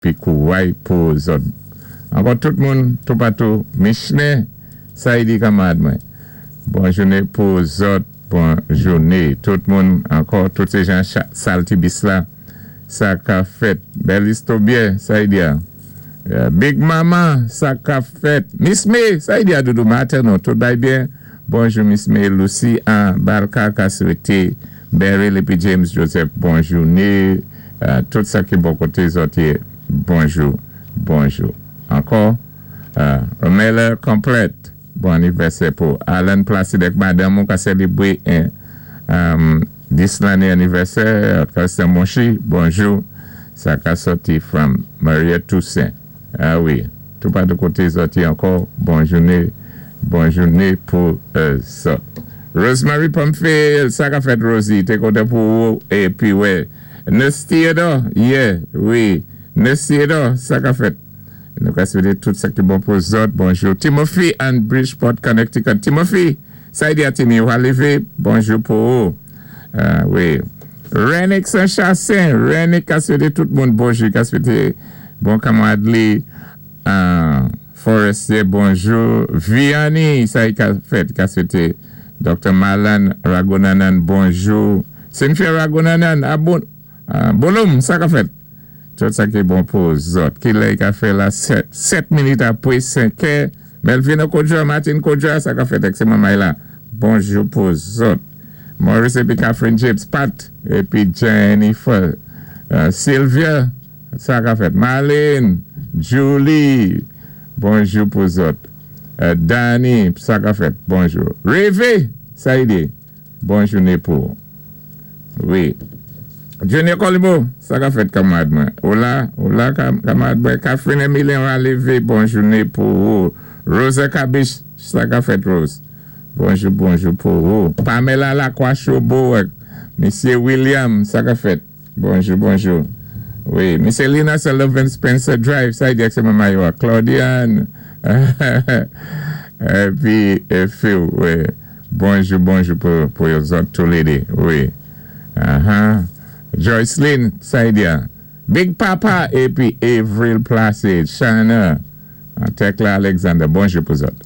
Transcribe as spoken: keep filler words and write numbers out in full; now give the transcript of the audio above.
Pi kouway pou zòt. Ankò tout moun, toupatou, Michelet, sa i di kanmarad mwen. Bon jouné pou zòt, bon jouné. Tout moun, ankò, tout sé jan Saltibus la, sa ka fèt. Bèl istobye, sa i di a. Big Mama, sa ka fèt. Miss May, sa i di a doudou maten nou, tout bay byen. Bonjou Miss May, Lucy an Balka ka swété. Beryl épi James Joseph, bon jouné. Tout sa ki bò koté zòt yé, bonjou, bonjou. Ankò, Romela Complete, bon anivèsè pou Alan Placide madanm ou ka sélébwé dis lanné anivèsè, Christian Monchi, bonjou. Sa ka sòti from Maria Toussaint. Ah wi, tout pa de koté zòt yé ankò, bon jouné, bon jouné pou zòt. Rosemary Pamphile, sa ka fèt Rosie, té kontan pou ou, épi wè, Nurse Theodore, yeah, wi, Nurse Theodore, sa ka fèt. Nou ka swété tout sa ki bon pou zòt, bonjou. Timothy and Bridgeport, Connecticut. Timothy, sa i di a Timmy, ou levé, bonjou pou ou. Wi. Renick Saint-Chassin, Renick ka swété tout moun bonjou, ka swété bon kanmarad li, Forestier, bonjou. Vianney, sa i ka fèt, ka swété Doctor Malan Ragonanan, bonjou. Cynthia Ragonanan, abon, Bolom, sa ka fèt. Tout sa ki bon pou zòt. Ki lè ka fè la sèt minit apwé senk è. Melvin Kodja, Martin Kodja, sa ka fèt ek sé mamay la. Bonjou pou zòt. Maurice épi Catherine James, Pat, épi Jennifer, Sylvia, sa ka fèt. Marlene, Julie, bonjou pou zòt. Danny, sa ka fèt, bonjou. Reve, sa i di, bonjou né pou. Wi. Junior Colibo, sa ka fèt kanmarad mwen. Ola, ola kanmarad mwen. Catherine Emilien Ralevé, bonjou né pou ou. Rosa Kabish, sa ka fèt Rose. Bonjou, bonjou pou ou. Pamela Lacroix Chobo, Monsieur William, sa ka fèt. Bonjou, bonjou. Wi, Monsieur Lina Sullivan Spencer Drive, sa i di ak sé maman yo. Claudiane, épi Phil, wi. Bonjou, bonjou pou yo zòt tou lé dé. Wi. Aha. Joycelyn, sa i di a. Big Papa, épi Avril Placide, Shana, Tekla Alexander, bonjou pou zòt.